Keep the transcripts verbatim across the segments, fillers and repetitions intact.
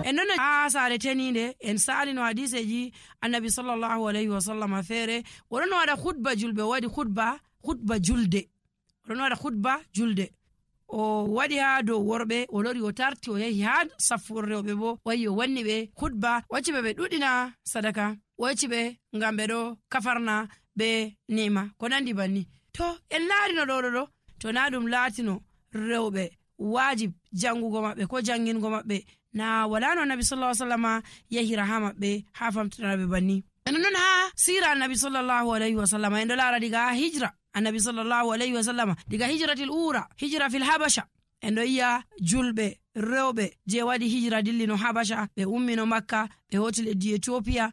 en non ha sare teninde en salino hadiseji annabi sallallahu alaihi wasallam fere wonon wada khutba julbe wadi khutba khutba julde wonon wada khutba julde o wadi ha do worbe o lori o tarti o yahi ha safurre be bo wayi o wanni be khutba wacci be dudina sadaka wacci be ngam be do kafarna be nima ko nandi banni to en laari no do do to na dum latino rewbe wajib jangugo mabbe ko jangingo mabbe na wala no nabi sallallahu alaihi wasallam yahira ha mabbe ha famtana be banni en non ha sira nabi sallallahu alaihi wasallam en do laara diga hijra annabi sallallahu alaihi wasallam diga hijratil ura hijra fil habasha en do iya julbe rewbe je wadi hijra dillino habasha be ummino makka be hotel e di Ethiopia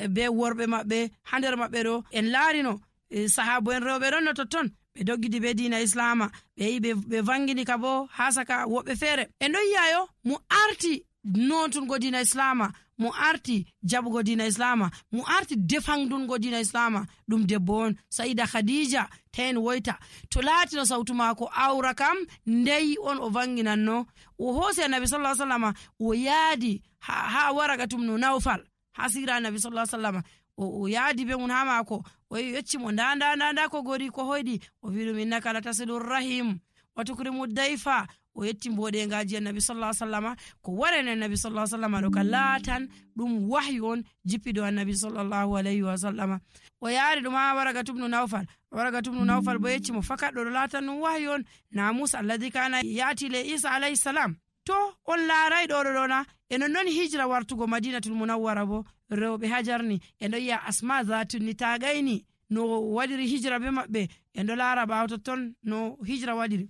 be worbe mabbe hander mabbe do en laarino sahabo en rewbe don no totton be doggidi be diina islama be yi be vangini ka bo hasaka wobbe fere en do yayo mu arti nontun go diina islama mu arti jabugo diina islama mu arti defangdun go diina islama dum debbo on saida khadija ten woita to latino sautu mako awra kam ndey on o vanginanno o hosi annabi sallallahu alaihi wasallam o yaadi ha, ha waragatum no nawfal hasira annabi sallallahu alaihi wasallam o, o yaadi be mun ha mako o yecci mo ndanda ndanda ko gori ko hoydi o wiru minnaka la tasilur rahim wa tukrimu dayfa o yetti mbode ngaji annabi sallallahu alaihi wasallam ko warene annabi sallallahu alaihi wasallam do kalatan dum wahyon jippido annabi sallallahu alaihi wasallam o yaari dum ha waragatum no nawfal waragatum no nawfal bo yetti mo fakado latan dum wahyon namus alladhi kana yati le isa alaihi salam to on laaray do do na enon non hijra wartugo madinatul munawwara bo rewbe hajarni en do ya asma zatun ni tagaini no wadiri hijra be mabbe en do laara bawto ton no hijra wadiri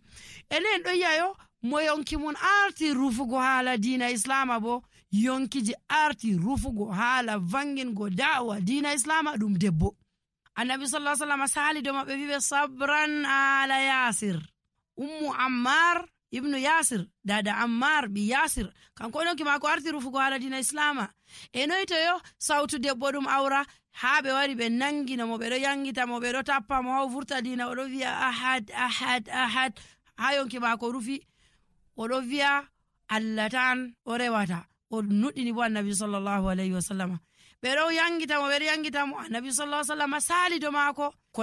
enen do yayo mo yonki mun arti rufugo hala diina islama bo yonkiji arti rufugo hala vangin go da'wa diina islama dum debbo annabi sallallahu alaihi wasallam sali do mabbe vibe sabran ala yasir ummu ammar ibnu yasir dada ammar bi yasir kanko no ki mako arti rufugo hala diina islama e noyto yo sautu debbo dum awra habe wari be nangina mo be do yangita mo be do tappa mo haw furta diina o do wiya ahad ahad ahad hayon ki mako rufi o do wiya Allah tan o rewata o nuddini bo annabi sallallahu alaihi wasallam be do yangita mo be do yangita mo annabi sallallahu alaihi wasallam sali do mako